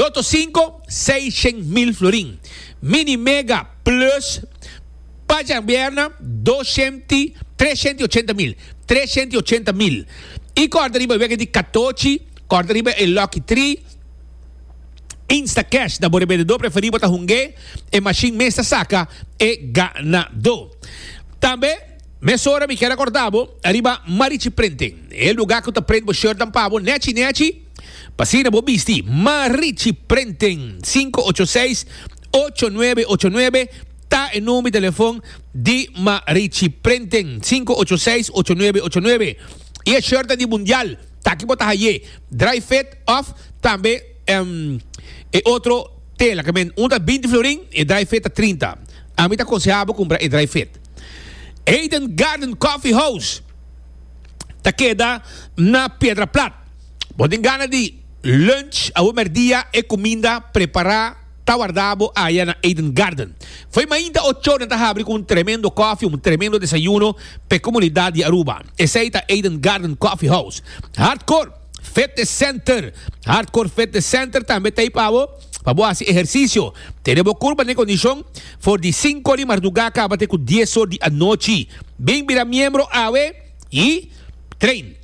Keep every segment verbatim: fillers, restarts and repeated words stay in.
Lotto sinku, seishent mil florin. Mini Mega Plus pa djabièrnè, doshent, treshent i ochenta mil. Treshent i ochenta mil. I kòrda riba wega di katochi, kòrda riba e Lucky Three, Instacash na bo rebendedó preferí bo ta hung'é, e mashin mes ta saka e ganadó. Tambe, mesora mi kier a kòrda bo riba Marichi Printing, e lugá ku ta print bo shirtnan pa bo nèchi nèchi pa asina bo bisti. Marichi Printing, sinku ocho seis, ocho nuebe ocho nuebe ta e number di telefòn di Marichi Printing, sinku ocho seis, ocho nuebe ocho nuebe. I e shirtnan di mundial ta aki bo ta haye dry fit òf tambe. E otro tela ke men un ta binti florin, e dry fit ta trinta. Ami ta konseha bo kumpra e dry fit. Eden Garden Coffee House ta keda na Piedra Plat. Bo tin gana di lunch awe merdia e kuminda prepara ta warda bo aya na Eden Garden. Fo'i mainta ocho nan ta habri ku un tremendo kofi, un tremendo desayuno p'e komunidat di Aruba. Esei ta Eden Garden Coffee House. Hardcore! Fitness Center. Hardcore Fitness Center tambe ta ei pa bo, pa bo hasi ehersisio. Tene bo kurpa den kondishon for di sinku or di mardugá kaba te ku dies or di anochi. Bin bira miembro awe i train.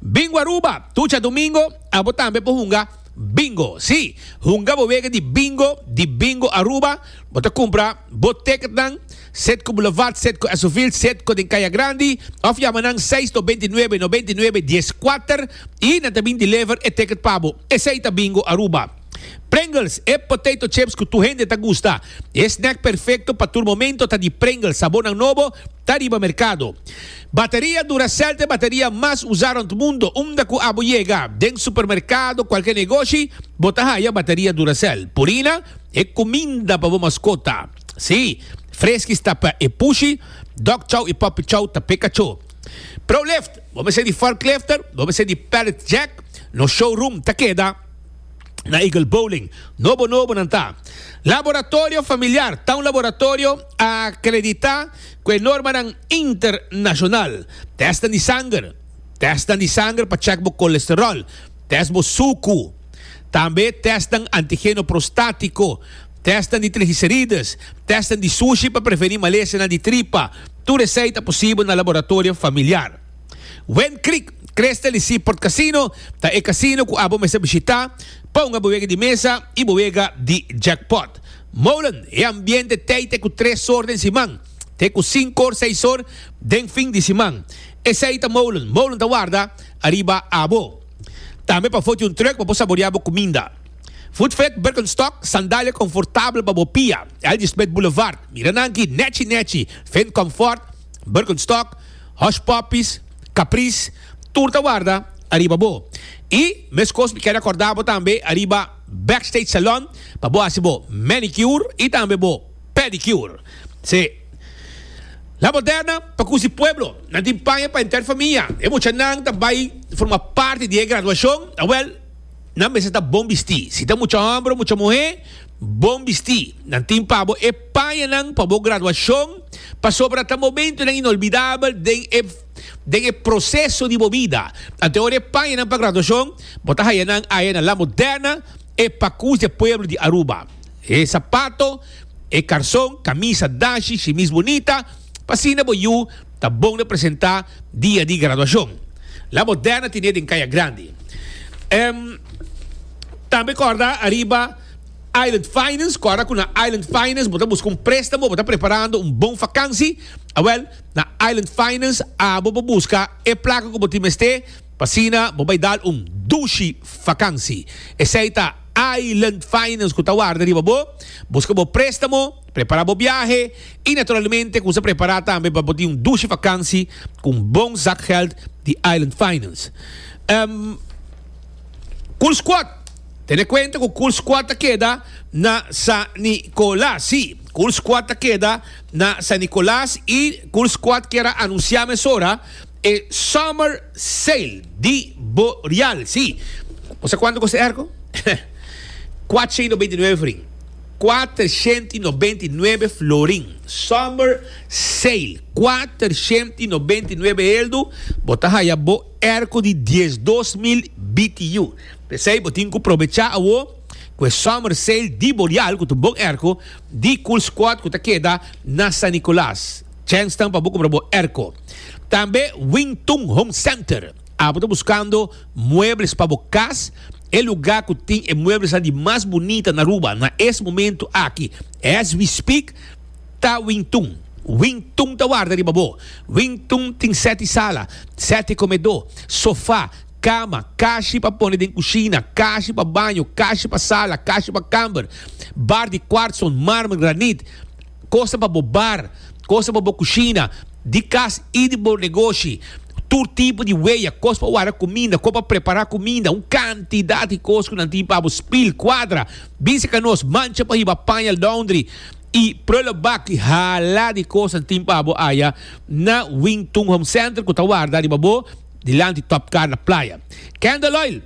Bingo Aruba, tur djadumingo abo tambe por hunga bingo. Sí, hunga bo wega di bingo di Bingo Aruba. Bo ta kumpra bo ticketnan Setco Boulevard, Setco Esovil, Setco den Kaya Grandi of yama nan seis nobenta i nuebe, nobenta i nuebe, dies kuater i nan ta bin deliver e ticket pa bo. Esey ta Bingo Aruba. Pringles, e potato chips ku tur hende ta gusta. E snack perfecto pa tur momento ta di Pringles, sabornan nobo ta riba mercado. Bateria Duracell ta e bateria mas usa rond mundo. Unda ku abo yega, den supermercado, cualke negoshi, bo ta haya bateria Duracell. Purina, e kuminda pa bo maskota. Sí, Friskies ta pa e pushi, Dog Chow i Puppy Chow ta p'e kachó. Prolift, bo mester di forklifter, bo mester di pallet jack, nos showroom ta keda na Eagle Bowling. Nobo nobo nan ta. Laboratorio Familiar ta un laboratorio akreditá ku e normanan internashonal. Tèstnan di sanger, tèstnan di sanger pa chèk bo kolesteròl, tèst bo suku. Tambe tèstnan antigeno prostátiko, tèstnan di triglicerides, tèstnan di sushi pa prevení malesanan di tripa, tur esei ta posibel na Laboratorio Familiar. Wind Creek, Crystal i Seaport Casino ta e kasino ku abo mester bishitá pa hunga bo wega di mesa i bo wega di jackpot. Molen, e ambiente tei te ku tres or den siman, te ku sinku or, seis or den fin di siman. Esei ta Molen. Molen ta warda ariba abo. Tambe pafó tin un truck pa bo saboreá bo kuminda. Food Fit, Birkenstock, sandalia konfortabel pa bo pia. L G. Smith Boulevard, mira nan aki, nechi nechi, Fin Comfort, Birkenstock, Hush Puppies, Caprice, tur ta warda ariba bo. I meskos mi kier akordá bo tambe ariba Backstage Salon pa bo hasi bo manicure i tambe bo pedicure. Sí. La Moderna pa kusi pueblo. Nan tin paña pa henter famia. E muchanan ta bai forma parti di e graduashon. Awel, nan mester ta bon bistí. Si ta mucha hòmber o mucha muhé, bon bistí. Nan tin pa bo e pañanan pa bo graduashon, pasobra ta momentunan inolvidabel den e den e proseso di bo bida. Anto ora e pañanan pa graduashon, bo ta haya nan aya na La Moderna, e pakus di e pueblo di Aruba. E sapato. E karson, kamisa, dashi, shimis bunita, pa asina bo yu ta bon representá dia di graduashon. La Moderna tine den Kaya Grandi. Em, tambe kòrda ariba Island Finance, kòrda ku na Island Finance bo ta buska un préstamo, bo ta preparando un bon fakansi, awèl na Island Finance abo por buska e plaka ku bo tin mester pa asina bo bai dal un dushi fakansi. Esei ta. Island Finance ku ta warda riba bo, buska bo préstamo, prepará bo biahe i naturalmente kusa prepará tambe pa bo tin un dushi fakansi ku un bon zakgeld di Island Finance. Um, Cool Squad, tene kuenta ku Cool Squad ta keda na San Nicolas. Sí, Cool Squad ta keda na San Nicolas i Cool Squad kier a anunsiá mesora e Summer Sale di Boreal. Sí, bo sa kuantu kosta e airco? Kuatrshent i nobenta i nuebe florin. Kuatrshent i nobenta i nuebe florin. Summer Sale. Kuatrshent i nobenta i nuebe eldu bo ta haya bo airco di diesdos mil B T U. P'esei bo tin ku probechá awo Ku e summer sale di Boreal, ku ta un bon airco di Cool Squad ku ta keda na San Nicolas. Chance tan pa bo kumpra bo airco. Tambe Wing Tung Home Center. Abo ta buskando muebles pa bo kas? E lugá ku tin e mueblesnan di mas bunita na Aruba na es momento aki, as we speak, ta Wing Tung. Wing Tung ta warda riba bo. Wing Tung tin seti sala, seti komedó, sofá, kama, kashi pa pone den kushina, kashi pa baño, kashi pa sala, kashi pa kamber, bar di kwartson, marmer, granit, kosnan pa bo bar, kosnan pa bo kushina, di kas i di bo negoshi, tur tipo di weya, kos pa warda kuminda, kos pa prepará kuminda, un kantidat di kos ku nan tin pa bo, spil, kuadra, binse ka nos, mancha pa hiba paña laundry i prullenbak i hala di kos nan tin pa bo aya na Wing Tun Home Center ku ta warda riba bo dilanti Top Car na Playa. Candle Oil.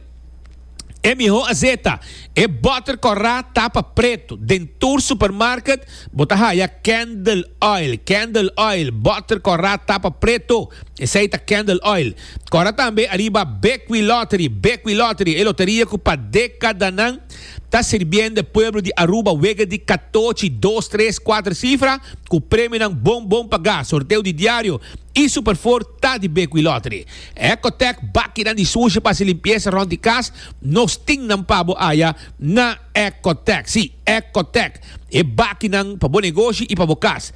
E mihó azeta, e bòter kòrá tapa pretu. Den tur supermarket bo ta haya Candle Oil. Candle Oil, bòter kòrá tapa pretu. Esei ta Candle Oil. Kòrda tambe ariba Bequi Lottery. Bequi Lottery, e loteria ku pa dékadanan ta sirbiendo e pueblo di Aruba wega di katochi, dos, tres, kuater sifra ku premionan bon bon pagá. Sorteo di diario i Super Four ta di Bequi Lottery. Ecotec bakinan di sushi pa hasi limpiesa rond di kas, nos tin nan pa bo aya na Ecotec. Sí, Ecotec. E bakinan pa bo negoshi i pa bo kas.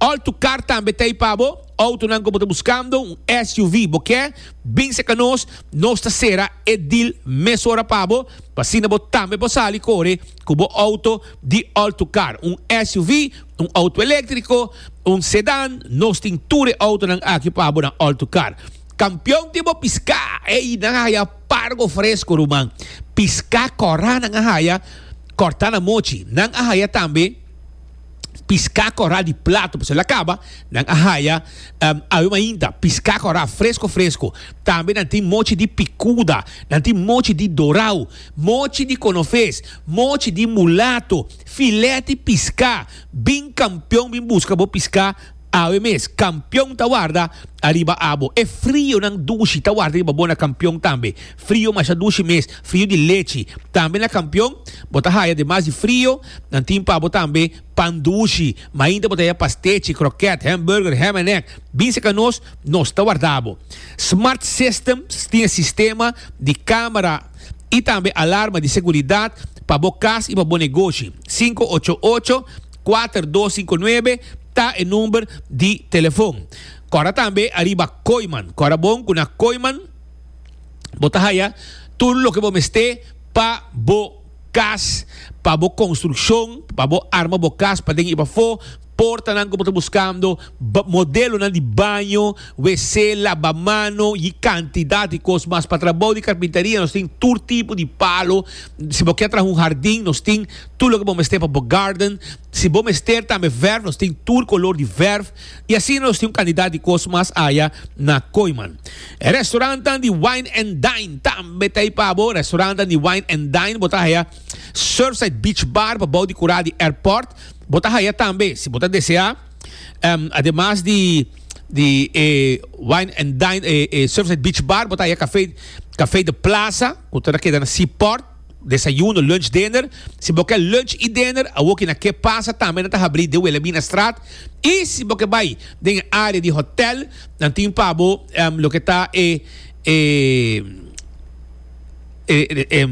All to Car tambe ta ei pa bo. Autonan ku bo ta buskando, un S U V bo ke, bin seka nos, nos ta sera e deal mesora pa bo, pa asina bo tambe por sali kore ku bo auto di All to Car. Un S U V, un auto eléktriko, un sedan, nos tin tur e autonan aki pa bo na All to Car. Kampion tin bo piská! Ey, nan a haya pargo fresko, ruman. Piská kòrá nan a haya, kòrtá na mochi. Nan a haya tambe piská kòrá di plato, pasobra el a kaba, nan a haya awe mainta piská kòrá fresko fresko. Tambe nan tin mochi di pikuda, nan tin mochi di dorau, mochi di konofes, mochi di mulato, filet di piská. Bin Kampion bin buska bo piská awe mes. Kampion ta warda ariba abo. E frionan dushi ta warda riba bo na Kampion tambe. Frio masha dushi mes, frio di lechi. Tambe na Kampion bo ta haya demas di frio, nan tin pa bo tambe pan dushi. Mainta bo ta haya pastechi, kroket, hamburger, ham and egg. Bin seka nos, nos ta warda bo. Smart Systems tin e sistema di kamera i tambe alarma di seguridat pa bo kas i pa bo negoshi. Sinku ocho ocho, kuater dos sinku nuebe ta e number di telefon. Kòrda tambe ariba Kooyman. Kòrda bon ku na Kooyman bo ta haya tur loke bo mester pa bo kas, pa bo konstrukshon, pa bo arma bo kas paden i pafó, portanan ku bo ta buskando, modelonan di baño, wc, labamano i kantidat di kos mas. Pa trabou di karpinteria nos tin tur tipo di palo. Si bo ke traha un hardin nos tin tur loke bo mester pa bo garden. Si bo mester tambe verf, nos tin tur kolor di verf. I asina nos tin un kantidat di kos mas aya na Kooyman. E restaurantnan di Wine and Dine tambe ta ei pa bo. Restaurantnan di Wine and Dine bo ta haya Surfside Beach Bar pa bou di kura di airport. Bo ta haya tambe, si bo ta desea, ademas di di e Wine and Dine, e, e Surfside Beach Bar, bo ta haya Café, Café de Plaza, ku ta keda na Seaport, desayuno, lunch, dinner. Si bo ke lunch i dinner, awoki na Ke Pasa tambe nan ta habri den Wilhelminastraat. I si bo ke bai den e area di hotel, nan tin pa bo loke ta e, e, e, e,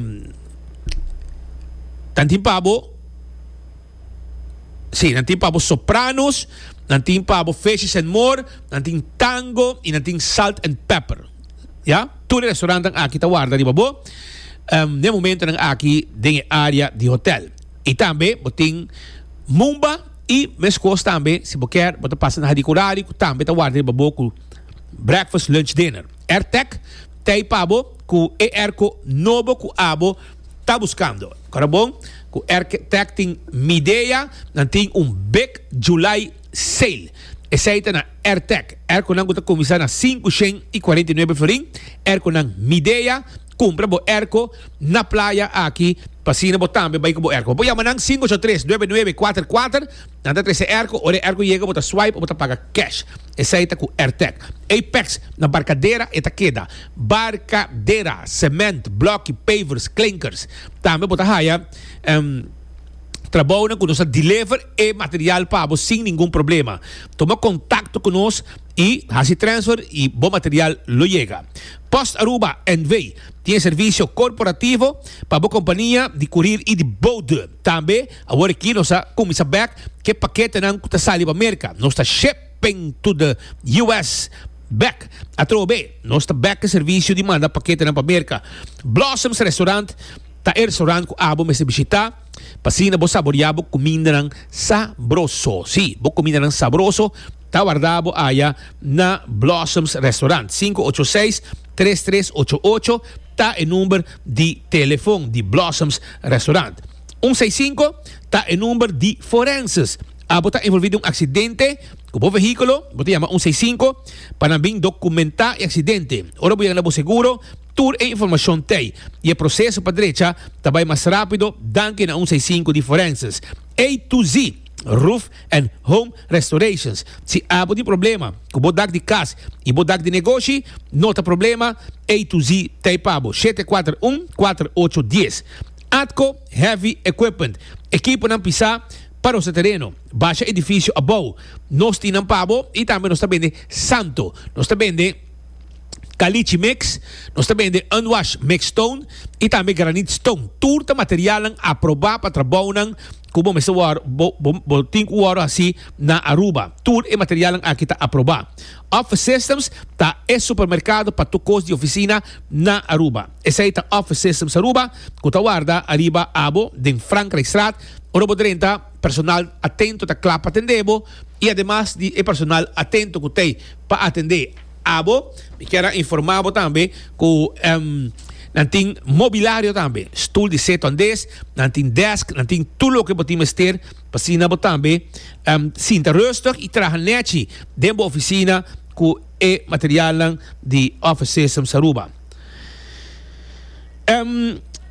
nan tin pa bo, sí, nan tin pa bo Sopranos, nan tin pa bo Fishes and More, nan tin Tango i nan tin Salt and Pepper. Ya, tur e restaurantnan aki ta warda riba bo den momentonan aki den e area di hotel. I tambe bo tin Mumba i meskos tambe si bo kier bo ta pasa na Hadicurari ku tambe ta warda riba bo ku breakfast, lunch, dinner. Airtec ta ei pa bo ku e airco nobo ku abo ta buskando. Kora bon ku Airtec tin Midea, nan tin un big July sale. Esei ta na Airtec. Airconan ku ta kuminsá na sinku shen i kuarenta i nuebe florin. Airconan Midea Kumpra bo airco na Playa aki pa asina bo tambe bai ku bo airco. Bo yama nan sinku ocho tres, nuebe nuebe, kuater kuater, nan ta trese airco, ora e airco yega bo ta swipe o bo ta paga cash. Esei ta ku Airtec. Apex na Barcadera e ta keda. Barcadera, cement, bloki, pavers, klinkers. Tambe bo ta haya trabounan ku nos ta deliver e material pa bo sin ningun problema. Tuma kontakto ku nos i hasi transfer i bo material lo yega. Post Aruba N V tin e servisio korporativo pa bo kompania di kurir i di bode. Tambe awor aki nos a kuminsá bèk ku e paketenan ku ta sali pa Merka. Nos ta shipping to the U S bèk. Atrobe nos ta bèk e servisio di manda paketenan pa Merka. Blossoms Restaurant ta e restaurant ku abo mester bishitá pa asina bo saboriá bo kumindanan sabroso. Sí, bo kumindanan sabroso ta warda bo aya na Blossoms Restaurant. Sinku ocho seis, tres tres ocho ocho ta e number di telefon di Blossoms Restaurant. Un seis sinku ta e number di Forenses. Abo ta envolví den un aksidente ku bo vehíkulo, bo ta yama un seis sinku pa nan bin dokumentá e aksidente. Ora bo yega na bo seguro, tur e informashon t'ei i e proseso pa drecha ta bai mas rápido danki na un seis sinku di Forenses. A to Z Roof and Home Restorations. Si abo tin problema ku bo dak di kas i bo dak di negoshi, no ta problema, A to Z t'ei pa bo. Shete kuater un, kuater ocho dies. Atco Heavy Equipment. Ekiponan pisá pa nos tereno. Basha edifisio abou. Nos tin nan pa bo i tambe nos ta bende santo. Nos ta bende caliche mix, nos ta bende unwash mix stone i tambe granite stone. Tur ta materialnan aprobá pa trabounan ku bo mester wòrdu bo bo bo tin ku wòrdu hasi na Aruba. Tur e materialnan aki ta aprobá. Office Systems ta e supermerkado pa tur kos di ofisina na Aruba. Esei ta Office Systems Aruba ku ta warda ariba abo den Frankrijkstraat. Ora bo drenta, personal atento ta kla pa atendé bo i ademas di e personal atento ku t'ei pa atendé abo, mi kier a informá bo tambe ku nan tin mobilario tambe, stul di seto andes, nan tin desk, nan tin tur loke bo tin mester pa asina bo tambe sinta rustig i traha nechi den bo ofisina ku e materialnan di Office Systems Aruba.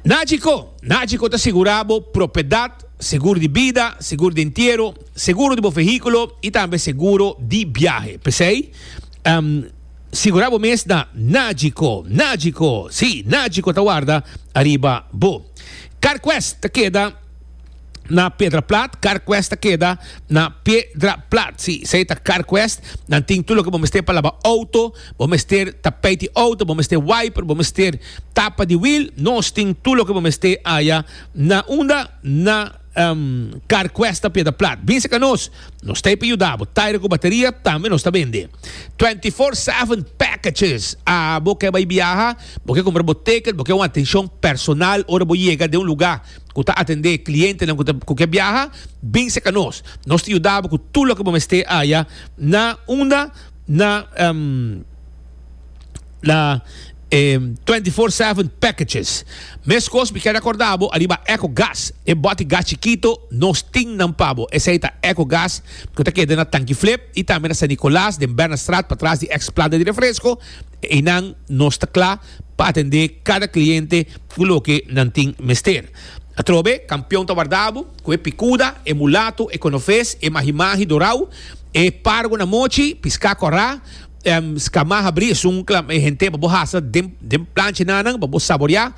Nagico, Nagico ta sigurá bo propiedat, seguro di bida, seguro di entiero, seguro di bo vehíkulo i tambe seguro di biahe. P'esei, sigurá bo mes na Nagico. Nagico, sí, Nagico ta warda ariba bo. CarQuest ta keda na Piedra Plat. CarQuest ta keda na Piedra Plat. Sí, esei ta CarQuest. Nan tin tur loke bo mester pa laba outo, bo mester tapijt di outo, bo mester wiper, bo mester tapa di wiel. Nos tin tur loke bo mester aya na unda? Na CarQuest ta Piedra Plat. Bin serka nos, nos ta ei pa yuda bo. Taire ku bateria tambe nos ta bende. Twenty four seven packages. Abo ke bai biaha, bo ke kumpra bo ticket, bo ke un atenshon personal ora bo yega den un lugá ku ta atendé klientenan ku ta ku ke biaha, bin serka nos. Nos ta yuda bo ku tur loke bo mester aya na unda? Na na e twenty four seven packages. Meskos mi kier akorda bo ariba Eco Gas, e bòti gas chikito nos tin nan pa bo. Esei ta Eco Gas ku ta keda na Tanki Flip i tambe na San Nicolas den Bernardstraat patras di ex planta di refresco. Einan nos ta kla pa atendé kada kliente ku loke nan tin mester. Atrobe, kampion ta warda bo ku e pikuda, e mulato, e konofes, e mahimahi dorau, e pargo na mochi, piská kòrá, Scamá habrí esun kla e henter pa bo hasa den den plancha nanan pa bo saboriá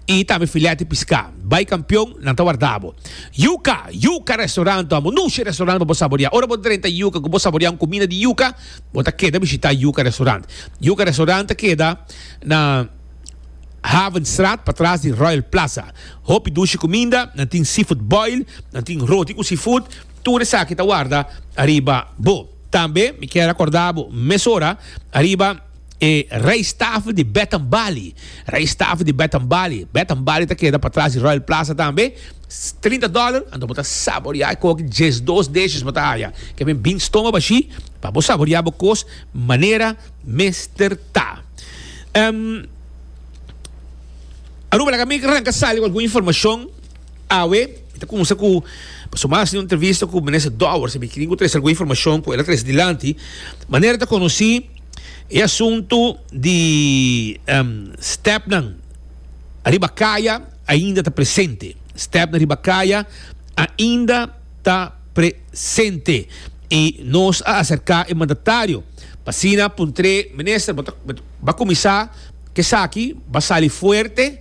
i tambe filèt di piská. Bai kampion, nan ta warda bo. Yuka, Yuka Restaurant ta un nushi restaurant pa bo saboriá. Ora bo drenta Yuka ku bo saboriá un kumida di yuka, bo ta keda bishitá Yuka Restaurant. Yuka Restaurant ta keda na Havenstraat patras di Royal Plaza. Hopi dushi kuminda, nan tin seafood boil, nan tin roti ku seafood, tur esaki ta warda ariba bo. Tambe mi kier a korda bo mesora ariba e rijsttafel di Beth Bali. Rijsttafel di Beth Bali. Beth Bali ta keda patras di Royal Plaza tambe. Trinta dollar, anto bo ta saborea e koki diesdos dishes bo ta haya. Ke men bin stoma bashi pa bo saborea bo kos manera mester ta. Um, Aruba, laga mi ranka sali ku algun informashon. Awe, mi ta cuminsa cu, pasobra mi a haci un entrevista cu Minister Dowers y mi tin cu trece algun informacion cu el a trece dilanti. Manera ta conoci, e asunto di stepnan Ariba kaya ainda ta presente. Stèpnan riba kaya ainda ta presente. I nos a aserká e mandatario pa asina puntr'é, Minister, bo ta bo a kuminsá ku esaki, bo a sali fuerte,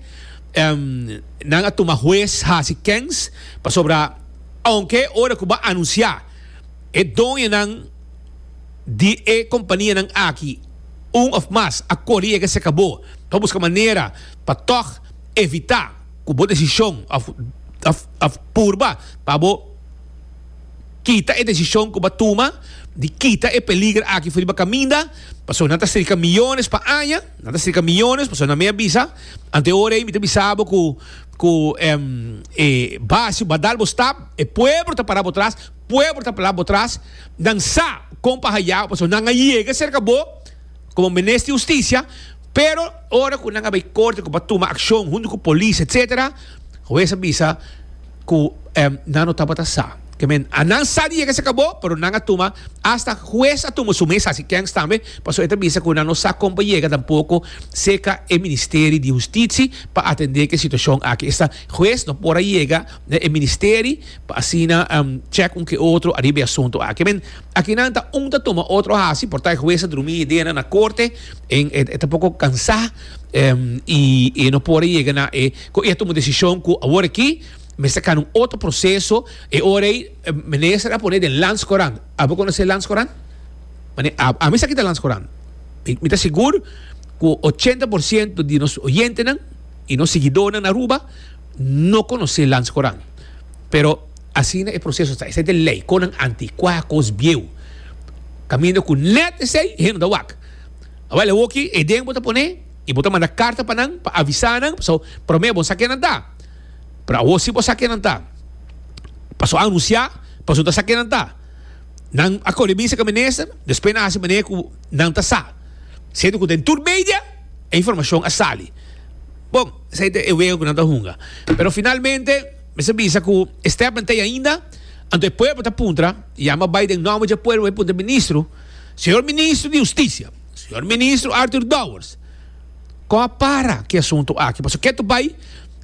nan a tuma hues hasi kens, pasobra ounke ora ku bo a anunsiá e doñonan di e kompanianan aki un òf mas a kore yega serka bo pa buska manera pa tòg evitá ku bo desishon òf òf purba pa bo kita e desishon ku bo a tuma di kita e peliger aki for riba kaminda, pasobra nan ta strika miyones pa aña, nan ta strika miyones, pasobra nan mi a bisa, ante ora ei mi ta bisa bo ku ku e basi bo a dal bo stap, e pueblo ta para bo tras, pueblo ta para bo tras, nan sa kon pa haya bo, pasobra nan a yega serka bo komo minister di hustisia, pero ora ku nan a bai korte ku bo a tuma akshon huntu ku polis etsetera, hues a bisa ku nan no tabata sa. Ke men, a nan sa di yega serka bo, pero nan a tuma, asta hues a tuma su mes hasi kèns tambe, pasobra e ta bisa ku nan no sa kon pa yega tampoko serka e Ministeri di Hustisi pa atendé ku e situashon aki. Esta hues no por a yega na e ministeri pa asina chèk un ke otro ariba e asuntu aki. Men, akinan ta un ta tuma otro hasi, por ta e hues a drumi ideanan na korte, en e ta poko kansá i e no por a yega na e ku e a tuma desishon ku awor aki mester kana un otro proseso. E ora ei minister a pone den Landscourant. Abo konosé Landscourant? Mane ami sa kita Landscourant. Mi ta sigur ku ochenta por siento di nos oyentenan i nos siguidónan na Aruba no konosé Landscourant. Pero asina e proseso ta. Esei ta e lei. Konan antikuá, kos bieu. Kaminda ku nèt esei hende no ta wak. Awel awoki e den bo ta pone i bo ta manda karta pa nan pa avisá nan pasobra promé bo sa ke nan ta. Pero awor si bo sa ken nan ta. Paso a anunsiá, paso ta sa ken nan ta. Nan a kore misa ku minister, despues nan a hasi manera ku nan ta sa. Siendo ku den tur media e informashon a sali. Bon, esei ta e wega ku nan ta hunga. Pero finalmente mester bisa ku e stèpnan ta ei ainda, anto e pueblo ta puntra, yama bai den nòmber dje pueblo bai puntra ministro, Señor Ministro di Hustisia, Señor Ministro Arthur Dowers, kon a para ku e asuntu aki? Pasobra ke ta bai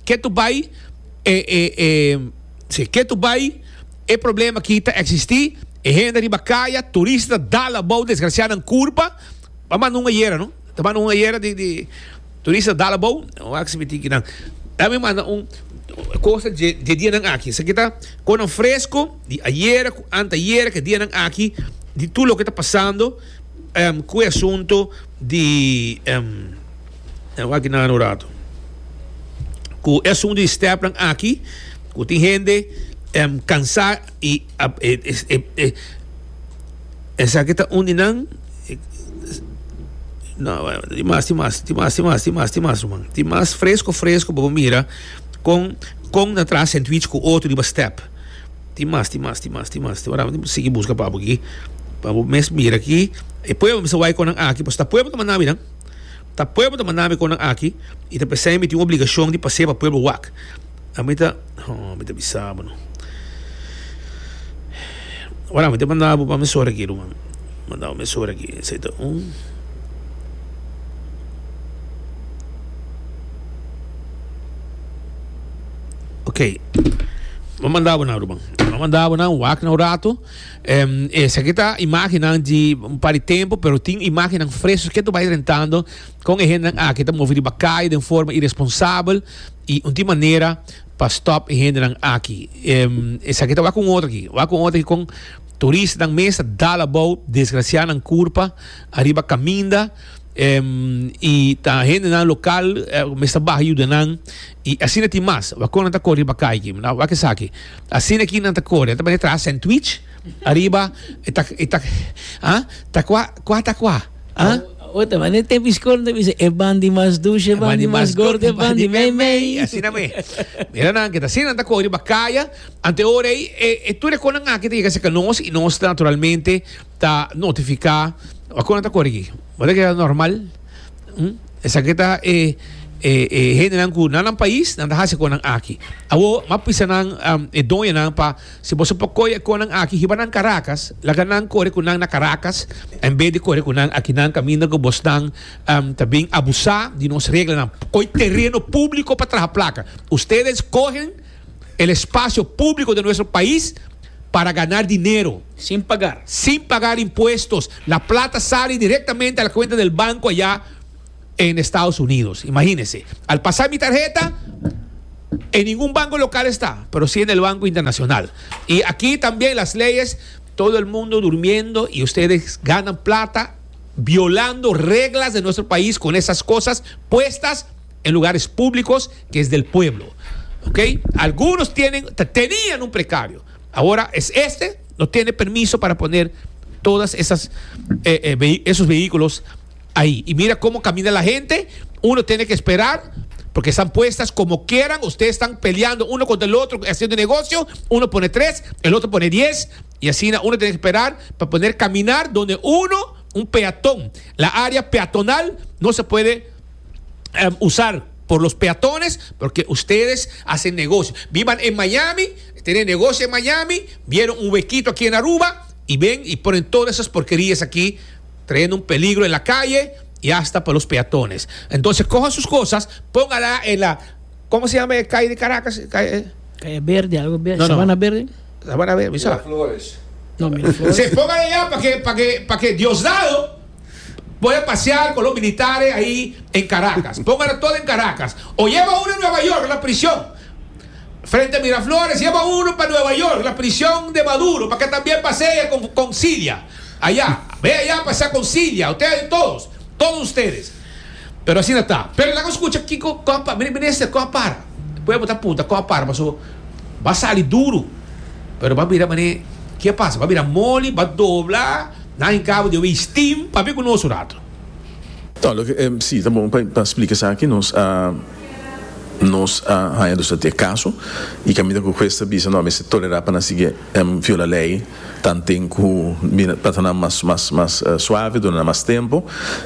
Ketu bai e e e si ketu bai e problema aki ta existi e hende riba kaya turista ta dal abou desgracia nan kurpa a manda un ayera no ta manda un ayera di di turista ta dal abou wak si mi tin kinan ta mi manda un cosa dje dje dianan aki esaki ta konan fresco di ayera ku antayera ke dianan aki di tur loke ta pasando ku e asunto di wak nan un rato ku e asunto di stèpnan aki ku tin hende kansá i esaki ta un di nan no tin mas tin mas tin mas tin mas tin mas tin mas ruman tin mas fresco fresco pa bo mira kon kon nan traha sandwich ku otro riba stèp. Tin mas, tin mas, tin mas, tin mas. Ora mi sigui buska pa bo aki, pa bo mes mira aki. E pueblo mester wak konan aki, pasobra ta pueblo ta manda mi nan. Ta pueblo ta manda mi konan aki, i ta p'esei mi tin un obligashon di pas'é pa pueblo wak. Ami ta, oh, mi ta bisa bo no. Ora mi ta manda bo pa mesora aki, ruman. Manda bo mesora aki. Esei ta un. Ok, bo manda bo nan ruman. Bo manda bo nan wak na un rato. Um, esaki ta imagennan di un par di tempo, pero tin imagennan fresco ke ta bai drentando kon e hendenan aki ta move riba kaya den forma irresponsabel i un tin manera pa stop e hendenan aki. Um, esaki ta wak un otro aki. Wak un otro aki kon turistanan mes ta dal abou, desgracia nan kurpa ariba kaminda. I ta hendenan lokal mester baha yuda nan i asina tin mas. Wak kon nan ta kore riba kai aki. Wak esaki. Asina aki nan ta kore. Nan ta bini traha sandwich ariba e ta e ta ah ta kua kua ta kua ah. Awo ta bini te biskor nan ta bisa e bandi mas dushi e bandi mas gordo e bandi mei mei. Asina me. Mira nan ke ta asina nan ta kore riba kaya. Ante ora ei e tur e konan aki ta yega serka nos i nos ta naturalmente ta notifiká. Wak kon nan ta kore aki. Bo ta keda normal. Esaki ta e E e hendenan ku na nan pais nan ta hasi kosnan aki. Awor m'a pisa nan um, e doñonan pa si boso por kohe e kosnan aki hiba nan Caracas, laga nan kore ku nan na Caracas en bes di kore ku nan aki nan kaminda ku bosnan um, ta bin abusá di nos reglanan. Kohe tereno públiko pa traha plaka. Ustedes cogen el espacio público de nuestro país para ganar dinero. Sin pagar. Sin pagar impuestos. La plata sale directamente a la cuenta del banco allá en Estados Unidos. Imagínense. Al pasar mi tarjeta, en ningún banco local está, pero sí en el Banco Internacional. Y aquí también las leyes, todo el mundo durmiendo y ustedes ganan plata violando reglas de nuestro país con esas cosas puestas en lugares públicos que es del pueblo. ¿Ok? Algunos tienen, tenían un precario. Ahora es este, no tiene permiso para poner todas esas eh, eh, vehi- esos vehículos ahí. Y mira cómo camina la gente. Uno tiene que esperar porque están puestas como quieran. Ustedes están peleando uno contra el otro, haciendo negocio. Uno pone tres, el otro pone diez. Y así uno tiene que esperar para poder caminar donde uno, un peatón, la área peatonal no se puede eh, usar por los peatones porque ustedes hacen negocio. Vivan en Miami, tienen negocio en Miami, vieron un huequito aquí en Aruba y ven y ponen todas esas porquerías aquí, trayendo un peligro en la calle y hasta para los peatones. Entonces cojan sus cosas, póngala en la, ¿cómo se llama la calle de Caracas? Calle, Calle Verde, algo verde. No, no. Sabana Verde. Sabana Verde, ¿sabe? Flores. No, Miraflores. Se pongan allá para que, para que, para que Diosdado pueda pasear con los militares ahí en Caracas. Pónganlo todo en Caracas. O lleva uno en Nueva York, a la prisión. Frente a Miraflores, lleva uno para Nueva York, la prisión de Maduro, para que también pasee con, con Cilia. Allá, ve allá a pasar con Cilia. Ustedes todos, todos ustedes. Pero así no está. Pero la escucha, Kiko, compa, mire, mire este, compa, puede botar puta, compa, pasó. Va a salir duro. Pero va a mirar, mané, ¿qué pasa? Va a mirar moli, va a doblar, nada en cabo de steam, para ver con nosotros rato. Anto, loke, eh, si, ta bon pa splika aki, nos uh, nos a haña dus e kaso i kaminda ku hues a bisa no mester tolerá pa nan sigui um, viola lei tanten ku pa ta mas mas mas uh, suave durante mas tempu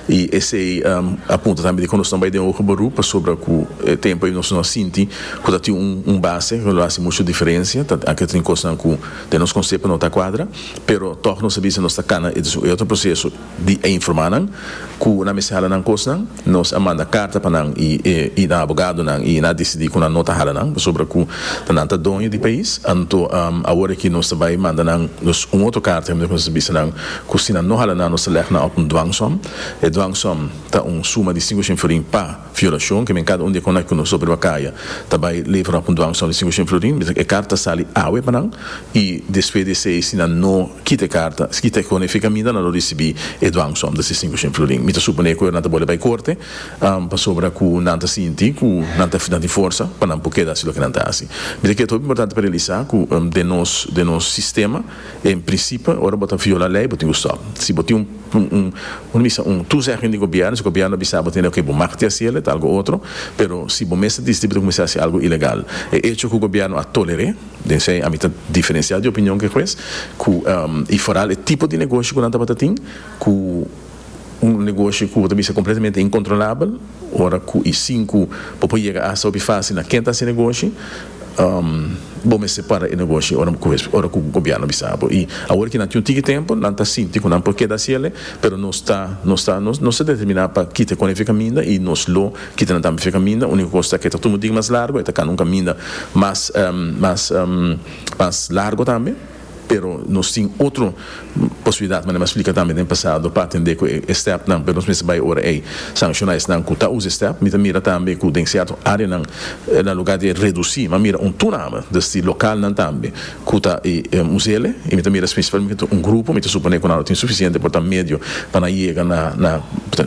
i esei um, a punta tambe di ku nos no bai den hoger beroep pasobra ku eh, tempu ei nos no sinti ku tin un, un base ku no hasi muchu diferensia ta aki tin kos ku den nos konsepto no ta kuadra, pero toch nos a bisa nos ta kana e otro proseso di informá nan ku nan mester hala nan kosnan. Nos a manda karta pa nan i i, i nan abogadonan i nan a disidí ku nan no ta hala nan pasobra ku nan ta doño di pais. Anto um, awor ku nos tambe manda nan nos un otro karta ku nos bisa nan ku si nan no hala nan, nos leg nan op un dwangsom. E dwangsom ta un suma di sinku florin pa violashon, ke men kada un di ku nos sobre kaya tambe levera op un dwangsom di sinku florin. E karta sali awe pa nan i despues di esei, si nan no kita e karta, kita kon e kaminda, nan lo risibí e dwangsom di sinku florin. Mi ta suponé ku nan ta bolbe bai korte um, pasobra ku nan ta sinti ku nan ta nan tin forsa pa nan por keda hasi loke nan ta hasi. Mi ta kere importante pa realisá ku um, den nos den nos sistema, en prinsipio, ora bo ta viola lei, bo tin ku stòp. Si bo tin un un un un un toezegging di gobièrnu, si gobièrnu bisa bo tin ku bo mag hasi, ta algu otro, pero si bo mes disidí kuminsá hasi algu ilegal, e hecho ku gobièrnu a tolerá, den esei ami ta diferensiá di opinion ku hues, ku um, i vooral e tipo di negoshi ku nan tabata tin, ku un negoshi ku tambe ta kompletamente inkontrolabel, ora ku i sinku por yega a fásil na ken ta hasi negoshi, um, bo mester para e negoshi ora ku ora ku gobièrnu bisa bo. I awor ku nan tin un tiki tempu, nan ta sinti ku nan por keda hasi, pero nos ta nos ta nos nos ta determiná pa kita ku e kaminda i nos lo kita nan tambe kaminda. Úniko kos ku ta tur dia mas largu, ta un kaminda mas um, mas um, mas largu tambe, pero nos tin otro posibilidat, mas mi a splika tambe den pasado pa atendé ku e stèpnan, pero nos mester bai ora ei sanshoná esnan ku ta usa stèp. Mi mira tambe ku den sierto áreanan, na lugá di redusí, m'a mira un toename, dus di lokalnan tambe ku ta e us'é. I mi mira spesialmente un grupo, mi ta suponé ku nan tin sufisiente por ta medio pa nan yega na na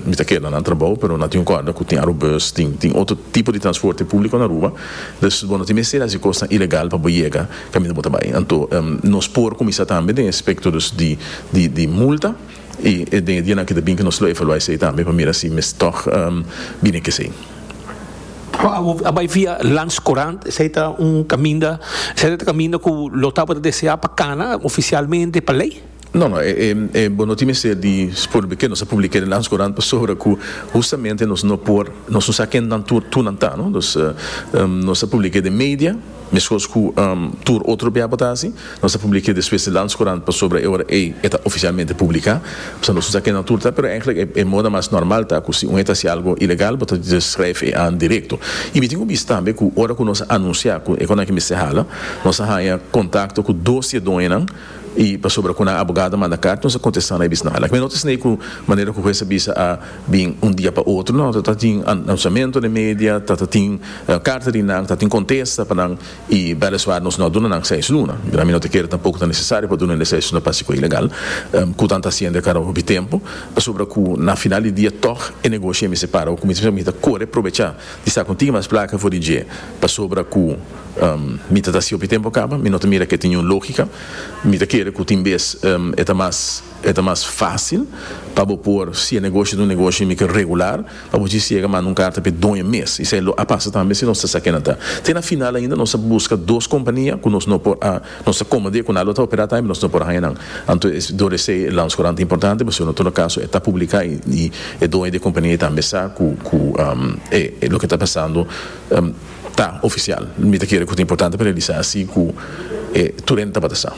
mi ta kere nan trabou, pero nan tin un korda ku tin Arubus, tin tin otro tipo di transporte públiko na Aruba, dus bon, tin mester hasi kos ilegal pa yega kaminda bo ta bai. Anto um, nos por kuminsá tambe den aspekto di di di multa i den dia ku bin ku nos lo evaluá esei tambe pa mira si mes toch um, bini ku esei. A bai via Landscourant, esei ta un kaminda, esei ta kaminda ku lo tabata deseá pa kana ofisialmente pa lei? No, no, e, e, e, bo no tin mester di publica, nos a publica den Landscourant pasobra cu justamente nos no por, nos no sa ken nan tur tur nan ta, no? Dus uh, um, nos a publica den media, mescos cu um, tur otro bia bo ta haci, nos a publica despues den Landscourant pasobra e ora e ta oficialmente publica, pues nos no sa ken nan tur ta, pero eigenlijk e, e moda mas normal ta, cu si un ta haci algo ilegal, bo ta schrijf e aan directo. Y mi tin cu bisa tambe cu ora cu nos a anuncia cu e cosnan aki mester hala, nos a haya contacto cu dos doñonan y pasobra cu nan abogado a manda carta, nos a contesta na bisa nada. No ta cu manera cu e bisa a bin un dia pa otro, no, ta tin anunciamento den media, ta tin carta di nan, ta tin contesta pa nan y weliswaar nos no a duna nan seis luna. Mi no ta kere tampoco ta necesario pa duna seis luna pa haci ilegal, um, cu nan ta haciendo caba hopi tempo, pasobra cu na final di dia toch e negoshi mester para, cu mi ta core aprovecha di sta cu mas placa for di dje, pasobra cu um, mi ta haci hopi tempo caba, mi no ta mira cu tin un logica, mi ta kere cu tin bes um, e ta mas e ta mas facil pa bo por si e negoshi ta un negoshi mi regular pa bo yega manda un carta pa doño mes. Esey lo a pasa tambe si nos sa ken ta. Te na final ainda nos a busca dos compania cu nos no por a nos a acomodá cu nan ta opera tambe, nos no por haya nan. Anto door esey Landscourant importante, mas en todo caso ta publica y, y e doño di compania tambe sa cu cu um, e, e loke ta pasando um, ta oficial. Mi ta kere cu ta importante pa realisa asina cu eh, tur hende ta sa.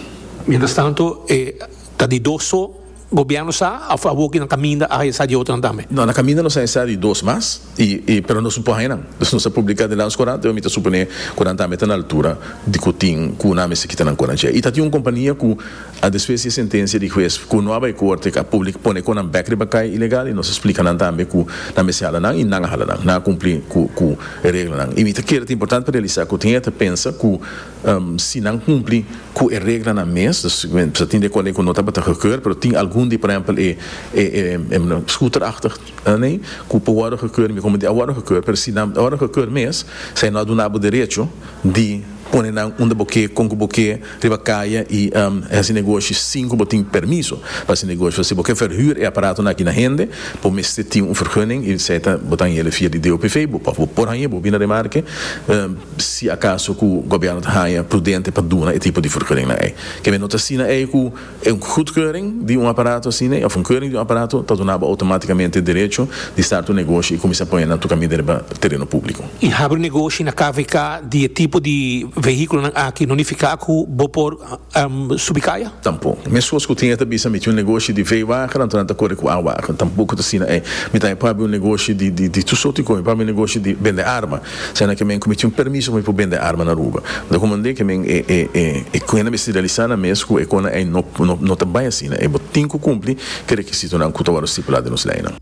Mientras tanto, eh, ta di dos so gobierno sa, of awor na caminda a sa di otro tambe? No, na caminda nos a di dos mas, y, y, pero nos no por haya nan. Dus nos a publica den Landscourant, mi ta supone cu nan tambe ta na altura di cu tin cu nan mester kita nan cosnan. Y ta tin un compania cu a despues di sentencia di hues cu no a bay corte a publica pone cosnan bek riba caya ilegal y nos a splica nan tambe cu nan mester hala nan y nan a hala nan, nan a cumpli cu cu reglanan. Y mi ta kere ta importante pa realisa cu tin ta pensa cu um, si nan cumpli cu e reglanan mes, dus se tin di cu no tabata gekeurd, pero tin algun di, por ehempel, e e e, e scooterachtig, nee, cu por worden gekeurd, mi como di worden gekeurd, pero si nan worden gekeurd mes, esey no ta duna bo derecho di pone nan unda bo ke, con bo ke, riba caya y um, haci negoshi sin cu bo tin permiso pa haci negoshi. Si bo ke verhuur e aparatonan aki na hende, bo mester tin un vergunning y esey ta bo ta hay'e via di D O P V, bo por por haya, bo bin na remarke, um, si acaso cu gobierno ta haya prudente pa duna e tipo di vergunning nan ei. Ke no ta asina ei cu un goedkeuring di un aparato asina, of un keuring di un aparato, ta duna automaticamente derecho di start un negoshi y cuminsa pone nan tur caminda riba tereno publico. Y habri negoshi na K V K di tipo di vehiculo aki no ta nifica cu bo por um, subi caya? Tampoco. Mescos cu tin ta bisa mi tin un negoshi di V-wagen, anto nan ta core cu A-wagen. Tampoco ta asina ei. Mi ta pa un negoshi di di di tur sorto di cos, pa un negoshi di bende arma. Sena cu mi cu tin un permiso pa bende arma na Aruba. Da como que men e e e e cu mester realisa na mes cu e cosnan ei no no no ta bay asina. E bo tin cu cumpli cu requisitonan cu ta stipula den nos leynan.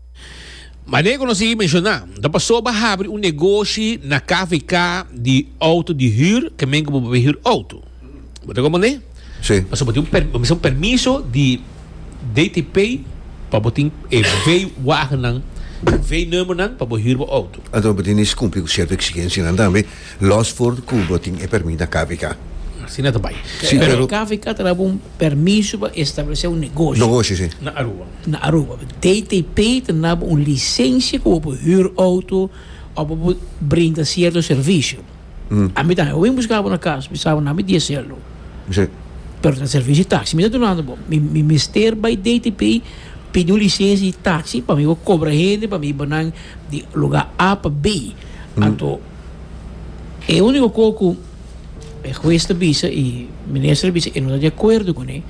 Manera cu nos a menciona, da paso pa habri un negoshi na K V K di auto di huur, kiermen cu bo huur auto. Bo ta comprende? Si. Paso bo tin un, per, un permiso di D T P pa bo tin e V-wagennan, V-nummernan pa huur bo auto. Anto, bo tin cu cumpli cu cierto exigencianan tambe. Los for cu bo tin e permit na K V K. Asina tambe. Si, Pero pero K V K ta un permiso pa establece un negoshi. Negoshi, si. Na Aruba. Na Aruba. D T P ta un licencia cu bo huur auto of bo brinda cierto servicio. Mm. Ami tambe, mi busca na cas, mi sabi na mi diesel. Si. Pero ta servicio di taxi, mi ta dunando bo. Mi mi mester bay D T P pidi un licencia di taxi pa mi cobra hende pa mi hiba di lugar A pa B. Mm. Anto, e unico cos cu e hues ta bisa y minister bisa e no ta di acuerdo cu ne.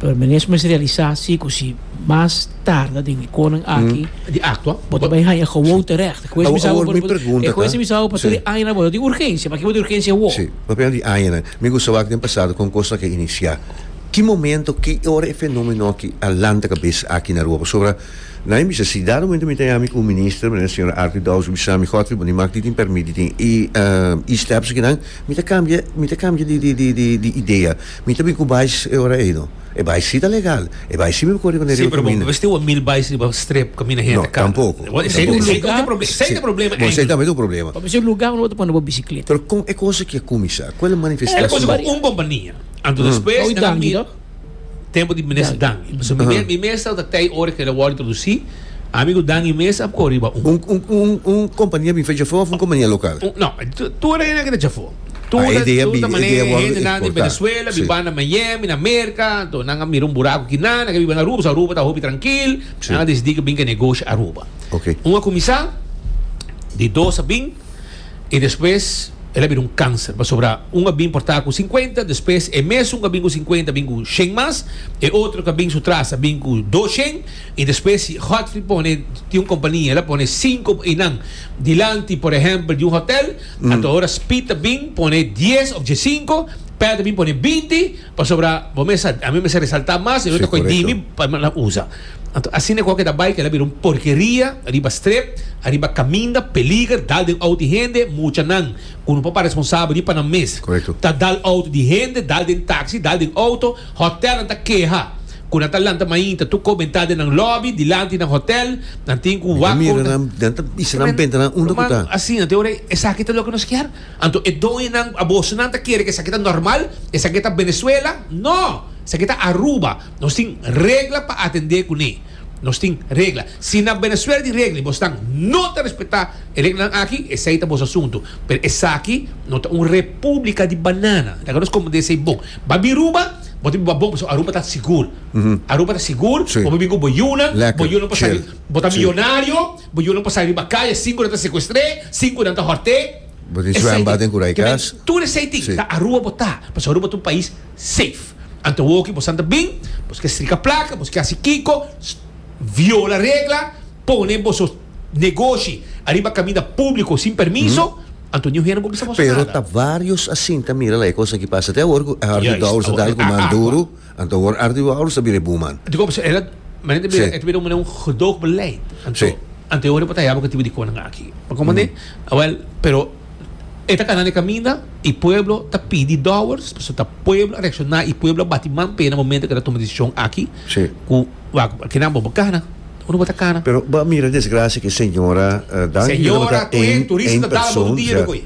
Pero minister mester realisa si cu si mas tarda den cosnan aki Di actua. bo ta bay haya gewoon terecht. Hues Awor- bisa awor mi pregunta, e hues ta? bisa pa Si. tur aña bo di urgencia, pa kico di urgencia wo? Si, papia di aña. Mi gusta wak den pasado con cos cu a inicia. Ki momento, ki ora e fenomeno aki a lanta cabes aki na Aruba? Sobre na mi si dado momento mi tin ami cu minister, meneer señor Arthur Dowers, bisa mi Godfrey, bo mag di tin permit tin e uh, e steps cu nan, mi ta cambia, mi ta cambia di di di di, di idea. Mi ta bin cu bais e ora ei no. E bais si ta legal. E bais si mi core con Si, pero bo tin un mil bais riba strip caminda hende No, tampoco. Esey Tampoco. esey ta e problema. Esey ta e problema. Bon, esey tambe ta un problema. Pa e lugar unda bo ta pone bo bicicleta. Pero con e cos cu a cuminsa? Cual E manifestacion? cos cu un compania. Anto despues Oi, nan a Dangui, mira- no? Tempo di minister Dangui. So, mi mi mes ta tey ora cu el a wordo introduci, amigo Dangui mes a core riba un. Un, un, un, un compania bin fecha of un compania local? Un, no, tur hende cu ta afo. Tur Ah, idea tur bi- manera idea wòrdu hendenan di eksportá. Venezuela, Sí. biba na Miami, na Merka, anto nan a mira un buraku akinan, nan ke biba na Aruba, so Aruba ta hopi trankil, Sí. nan a disidí ku bin ku negoshi Aruba. Ok. Un a kuminsá, di dos a bin, i despues el a bira un kanser, pasobra un a bin por ta ku sinkuenta, despues e mesun ku a bin ku sinkuenta a bin ku shen mas, e otro ku a bin su tras a bin ku dos shen, i despues si Godfrey pone, tin un kompania, el a pone sinku einan dilanti por ehèmpel di un hotèl, anto ora Speed a bin pone dies òf diesinku, Pet a bin pone binti, pasobra bo mes sa, ami mester resaltá mas, e Sí, otro ta kohe korekto. dimi pa nan usa. Anto asina ku a keda bai, keda bira un porkeria riba strep, ariba kaminda, peliger, dal den outo di hende, muchanan ku no por para responsabel ni pa nan mes. Korekto. Ta dal outo di hende, dal den taxi, dal den outo, hotelnan ta keha ku nan ta lanta mainta tur komentá den nan lobby, dilanti nan hotel, nan tin ku Mi ta wak mira kon ta. nan, nan ta bisa nan benta nan unda ku Ruman, ta. asina, te ora esaki ta loke nos kier? Anto e doñonan, abosonan ta kere ku esaki ta normal, esaki ta Venezuela? No! Esaki ta Aruba. Nos tin regla pa atendé kuné. Nos tin regla. Si na Venezuela tin regla y bosnan no ta respetá e reglanan aki, esei ta bos asuntu. Pero esaki no ta un república di banana. Laga nos komprendé esei bon. Ba bin Aruba, bo ta biba bon pasobra Aruba ta sigur. Aruba ta sigur, Sí. bo por bin ku bo yunan, Lekker, bo yunan por sali, chill. bo ta Sí. millonario, bo yunan por sali riba kaya sin ku nan ta sekuestr'é, sin ku nan ta hòrt'é. Bo tin Esei zwembad tin. den Kurai Ke men, kas. tur esei tin. Sí. Ta Aruba bo ta, pasobra Aruba ta un pais safe. Anto woki bo santa bin, bos ke strika plaka, bos ke hasi kiko, viola regla, pone boso negoshi ariba kaminda públiko sin permiso, anto niun hende no por bisa boso Pero nada. ta varios a sinta mira la e cosa ki pasa. Te awor ku Arthur Juist, Dowers a awor dal ku a man aqua. duru, anto awor Arthur Dowers a bira e buman. Digo, pues, el a, manera ta bira, Sí. e ta bira un gedoogbeleid. Anto, Sí. anto awor bo ta haya bo ku tipo di konan aki. Pa komandé? Awel, pero e ta kana den kaminda i pueblo ta pidi Dowers, pasobra ta pueblo a reakshoná i pueblo a bati man p'e na momento ku el a tuma desishon aki Sí. ku wak kinan bo bo kana, unda bo ta kana. Pero bo a mira desgracia ku e señora danki ku Señora, tabata ku e één turista één ta dal bo persoon, dia ja. koe.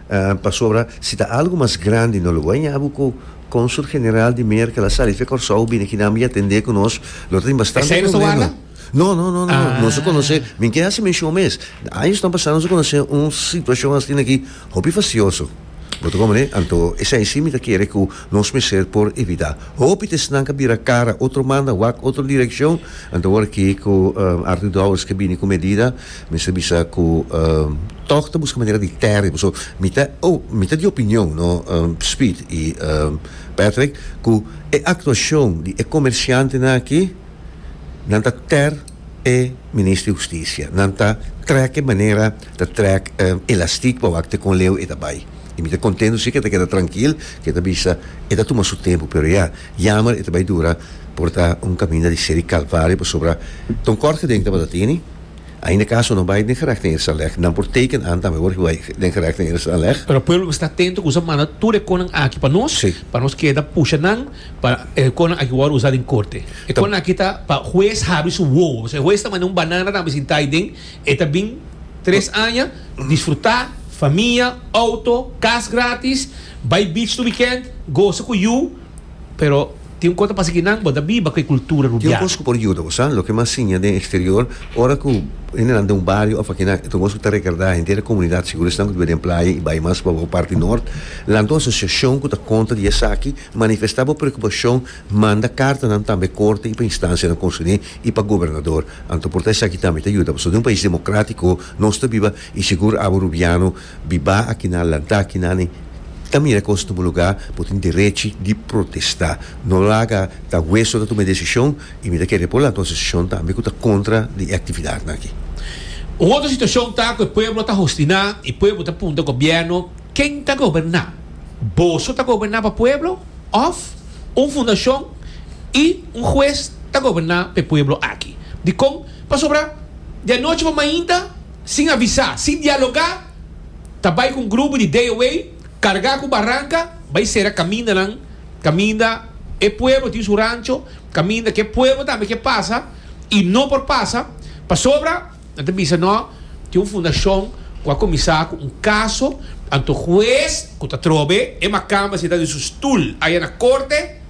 Eh, pasobra si ta algo mas grandi no lo bo a ña bo ku Consul General di Merca la sali fe Kòrsou bini kinan mi atendé ku nos lo tin bastante Esei no ta problema. warda? No, no, no, no, nos a Ah. konosé, mi ke hasi menshon mes, añosnan pasá nos a konosé un situashon asina aki hopi fastioso. Bo ta komprendé? Anto esei sí mi ta kere ku nos mester por evitá. Hopi ta esnan ka bira kara otro manda, wak otro direkshon, anto awor aki ku Arthur Dowers ke bini ku medida, mester bisa ku tòg ta buska manera di tèrè, pasobra mi ta, oh, mi ta di opinion, no, Speed i Patrick, ku e aktuashon di e komersiantenan aki, Nan ta ter e Minister di Husticia. Nan ta trek e manera ta trek elastic pa wak te con leu e ta bay. Y mi ta contento si ke ta keda trankil, ke ta bisa e ta tuma su tempo, pero ya, jammer e ta bay dura por ta un caminda di seri calvario pasobra ta un kort geding tabata tini. Ainda caso no bay den gerecht in eerste aanleg. Nan por teken aan tambe word bay den gerecht in eerste aanleg. Pero pueblo mester ta atento ku usa manda tur e konan aki pa nos, Sí. pa nos keda pusha nan pa e konan aki wòrdu usa den korte. E Ta- konan aki ta pa hues habri su wowo. Pasobra e hues ta manda un banana tambe sinta ei den, e ta bin tres aña disfrutá, famia, outo, kas gratis, bai beach tur weekend, gosa ku yu, pero tin un kos ta pasa kinan, bo ta biba ku e kultura Tin un rubiano. kos ku por yuda bo, sa? Loke mas siña den eksterior, ora ku hendenan den un bario òf akinan, ta un kos ku ta rekordá henter e komunidat, sigur esnan ku ta biba den playa i bai mas pa bo parti nort, lanta un asosiashon ku ta kontra di esaki, manifestá bo preokupashon, manda kartanan tambe korte i pa instansianan konserní i pa gobernador. Anto por ta esaki tambe ta yuda, pasobra den un pais demokrátiko nos ta biba i sigur abo rubiano bibá akinan, lantá akinan i Ta mira kos tuma lugá, bo tin derechi di protestá. No laga ta hueso ta tuma e desishon i mi ta kere por lanta un asosiashon tambe ku ta kontra di e aktividatnan aki. Un otro situashon ta ku e pueblo ta hostiná i pueblo ta puntra gobièrnu, Ken ta goberná? Boso ta goberná pa pueblo òf un fundashon i un hues ta goberná pa e pueblo aki? Dikon? Pasobra di anochi pa mainta, sin avisá, sin dialogá, Ta bai ku un grupo di D O A kargá ku baranka bai sera kamindanan, kaminda e pueblo tin su rancho, kaminda ku e pueblo tambe ke pasa i no por pasa pasobra nan ta bisa no tin un fundashon ku a kuminsá ku un kaso, anto hues ku ta trobe e makamba sintá den su stul aya na korte.